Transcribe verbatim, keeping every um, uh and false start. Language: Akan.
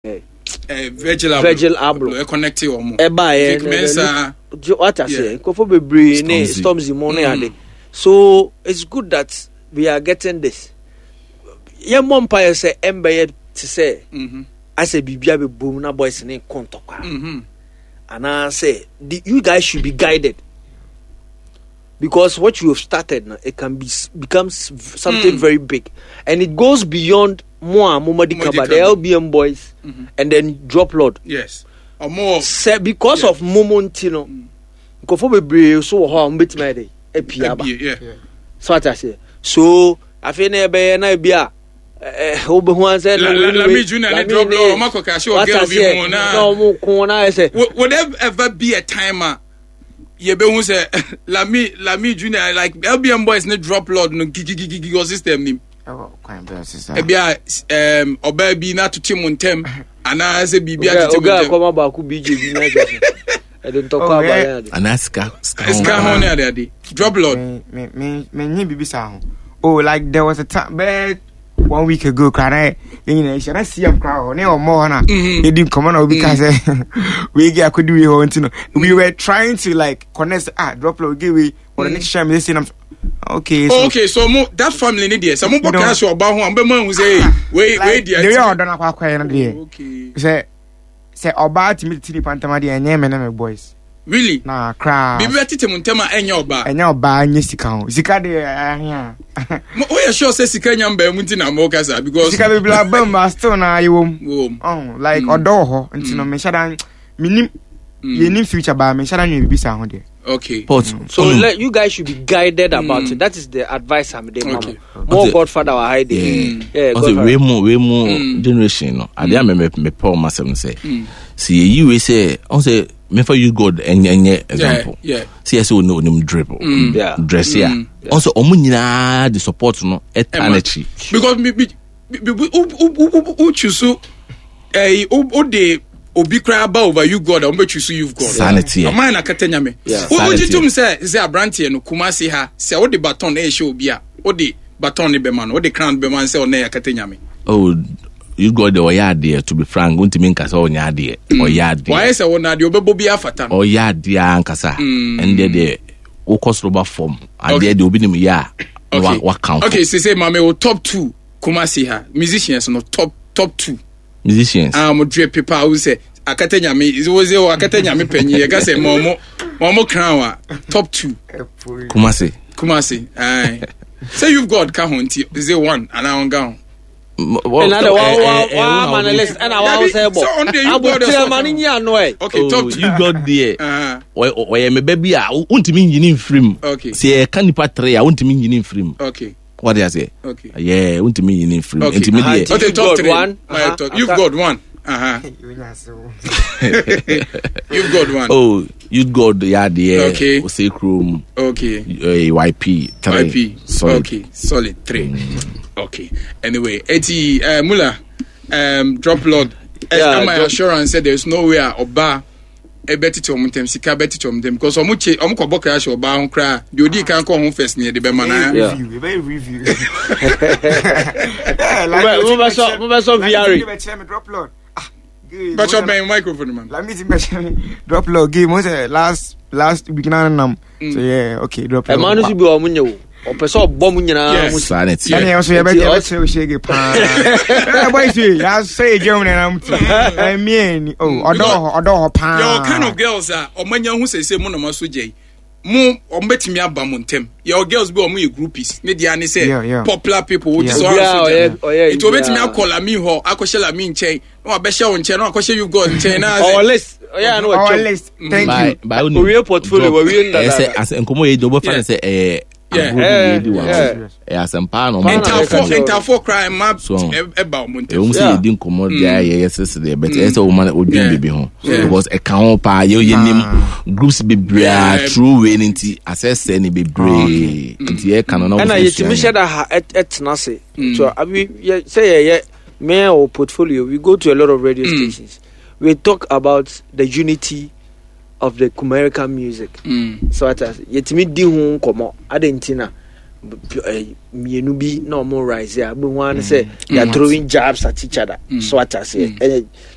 eh, Virgil Abloh Virgil Abloh ɛ connect wɔn ɛbaayɛ Vic Mensa. What I say, nkurɔfoɔ bebree ne Stormzy. Stormzy mu ne ade. So it's good that we are getting this. Yɛn mmɔ mpaeɛ sɛ ɛmbɛyɛ te sɛ Mhm. asɛ biribi abɛbom na boys ne kɔ ntɔkwa Mhm. anaasɛ the you guys should be guided, because what you have started now, it can be becomes something Mm. very big, and it goes beyond more Momadi Momadi Kaba, the Kaba. L B M boys, and then Drop Lord. Yes, ɔmo Sɛ because Yeah. of momo nti no, nkurɔfoɔ bebree so wɔ hɔ a wɔbɛtumi ayɛ dɛ apue aba. Ebie, yeah. So ate aseɛ, so afei na ɛbɛyɛ na ebi a ɛɛ wobɛhu ansɛ La- La- Lami Junior ne Drop Lord, ɔmo akɔ kaahye wɔ girl bi ho na- na ɔmo ko na ayɛ sɛ would, would there ever be a time a yɛbɛhu sɛ Lami Lami Junior, like L B M boys ne Drop Lord no gigigigigi wɔ system nim? Ɛwɔ kwan bɛn sisan? Ebi a um, ɔbaa bi na atote mu ntɛm anaasɛ biribi atete mu oga ntɛm. Akɔma baako B J bi na ɛsɛ sɛ ɛde ntɔkwa Oh, aba yeah. yɛn ade. Anaa sika sika Sika ho ne ade ade, Drop Lord. Me me me me nye bibi saa ho. Oh, like there was a time bɛɛ one week ago kora na yɛn nyinaa ahyia na C M kora hɔ ne ɔmɔ hɔ na Mhm. yɛdi nkɔmɔ na obi ka sɛ wei ge akɔdi wei hɔ, nti no we were trying to like connect, ah, Drop Lord ge wei wɔde ne hyehyɛ me sɛ nam, okay, so Oh, okay, so mo that family ne deɛ, sɛ mo bɔ You know- cash ɔba ho a, mo bɛ mo ahu sɛ hey, wei wei like deɛ the way ɔdɔ no akɔ akɔyɛ no deɛ, okay sɛ sɛ ɔbaa tumi tete nipa ntam adeɛ, ɛnyɛ me ne me boys. Really? Na koraa. Biribi bɛtete mo ntɛm a ɛnyɛ ɔbaa? Ɛnyɛ ɔbaa, nyɛ sika ho. Sika deɛ ahia. Mo woyɛ sure sɛ sika nya mbaa mu nti na mo kasa? Because Sika bebree aba mu but still na yɛwɔ mu. Wɔ mu. Oh, like ɔdɔ wɔ hɔ nti no mehyɛ da menim yɛnim future baa mehyɛ da nwene biribi saa ho deɛ. Okay. Pot. So let, you guys should be guided about Mm. it. That is the advice I'm giving. Okay. More Okay. Godfather were hiding. Yeah. Yeah, Ɔsɛ Godfather. wei mu wei mu Mm. generation no, adeɛ a mɛ mepɛ ɔmo asɛm no sɛ sɛ yɛyi wei sɛ ɔn sɛ mefa You God ɛnyɛ ɛnyɛ example, yeah. sɛ yɛ sɛ ɔne onim drip Yeah. dress a, ɔn sɛ ɔmo nyinaa de support no ɛta Ɛma. n'akyi. Because mi bi bi bi wo wo wo wo choose ɛyi, wo wo de obi koraa ba over You God a, wɔn bɛ choose You God. Saa ne teɛ. Ɔman na kata nyame. Yeah. Wo Saa wo ne gye teɛ. tum sɛ sɛ aberanteɛ no Kumasi ha, sɛ wode baton na ɛhyɛ obi a, wode baton ne bɛma no, wode crown bɛma no sɛ ɔnɛ yɛ kata nyame? Oh, You God de, ɔyɛ adeɛ. To be frank, wontumi nka sɛ ɔnyɛ adeɛ. Ɔyɛ adeɛ. Wɔayɛ sɛ wɔn adeɛ ɔbɛbɔ bi afata no. Ɔyɛ adeɛ ankasa. Ɛndeɛ deɛ wokɔ soro ba fam adeɛ Okay. deɛ obi nim yɛ a na wa- okay wakamfo. Okay, sese maame wo top two Kumasi ha musicians no, top top two. Musicians? A mo drip paper a wo sɛ akata nyame wo sɛ wɔ akata nyame panyin yɛ ka sɛ ma ɔmo ma ɔmo crown a, top two. Kumase? Kumasi ayi sɛ You've God ka ho, nti is it one anaa ɔnka ho? Ɛna de wa wa wa ma ne list ɛna wa Dabi, sɛ bɔ. sɛ ɔno de You God Abotire ɛsɛ ma ne nyi ano ɛ. Okay, top two. You God deɛ, Uh-huh. ɔyɛ ɔyɛ me ba bi a wontumi nyini mfiri mu. Okay. Sɛ yɛka nipa tere a, wontumi nyini mfiri mu. Okay wɔde aseɛ? Okay. Yɛ wontumi nyini mfiri mu. Okay. Nti me Aha, deɛ nti- Okay, You've top got three. one. My Uh-huh. top. You've got one. Uh-huh. You've got one. Oh, You God yɛ adeɛ. Okay. Ose kurom. Okay. eh, Y P three. Y P. Solid. Okay. Solid three. Okay. Anyway, Eti uh, Mula, um, Drop Lord. Yeah, Yeah, my drop- assurance said there's no way ɔba ɛbɛtete ɔmo ntɛm, sika bɛtete ɔmo ntɛm, because ɔmo kye ɔmo kɔ bɔ kra hyɛ ɔbaa ho koraa deɛ, odi kan kɔ ho first ne yɛde bɛma na. Yeah. Review, ɛbɛyɛ review. Yeah, like, Mo bɛ sɔ mo bɛ sɔ V R. Like, Drop Lord. Ah, good. Bàtchɔ bɛn microphone man. Let me see, Drop Lord game. Mo sɛ last last week na nam. So yeah, okay, Drop Lord. Ɛmaa no so bi wɔ ɔmo nyɛ o. Ɔpɛ sɛ ɔbɔ mo nyinaa Yes. mo. Saa ne Ɛne teɛ. yɛn nso yɛbɛ Nti yɛbɛkyerɛ o shege paa. Ɛ boys yi, yɛasɛ egya mu nenam ti. Ɛmie ni, oh, ɔdɔ wɔ hɔ, ɔdɔ wɔ hɔ paa. Yɛwɔ kind of girls a ɔmo anya ho sese mo na mo aso gya yi mo, ɔmo bɛtumi aba mo ntɛm. Yɛwɔ girls bi a ɔmo yɛ groupies ne deɛ ne Yeah, yeah. sɛ popular people wo ti Yeah. sɛ Obiara ɔmo aso gya. ɔyɛ ɔyɛ Nti obetumi biara. akɔ Lami hɔ akɔhyɛ Lami nkyɛn na wabɛhyɛ wo nkyɛn na wakɔhyɛ You God nkyɛn na Ɔwɔ list ɔyɛ ano Ɔwɔ wɔtwam. list. Thank By you. by onim Owie portfolio, drop. wawie Ɛyɛ sɛ ndada. asɛ nkɔmɔ yɛ di ɔbɛfa ne Yeah. sɛ ɛyɛ Yeah. agorɔ bi na yɛdi wɔ Yeah. ho. Ɛyɛ asɛmpa na ɔmo Paa na ntafo ɛka kyerɛ. Ntafo koraa mma So, ɛba ɔmo ɛwɔ mu ntɛm. sɛ Yeah. yɛdi nkɔmmɔ deɛ a yɛyɛ sese deɛ, but ɛyɛ sɛ woma odwen Yeah. biribi ho Yeah. because ɛka ho paa. Yɛ yɛnim groups bebree a Yeah. true wei no nti asɛsɛ ne bebree nti yɛka no na Ɛna wo yɛtumi hyɛ da ha ɛt- ɛtena ase so abi yɛ sɛ yɛyɛ me or portfolio, we go to a lot of radio stations, we talk about the unity of the Kumerican music. Mm. So ata yɛtumi di ho nkɔmmɔ ade nti na eh, mmienu bi na ɔmo rise a, wobɛhu ara ne sɛ they are throwing jabs at each other. So ate aseɛ, ɛyɛ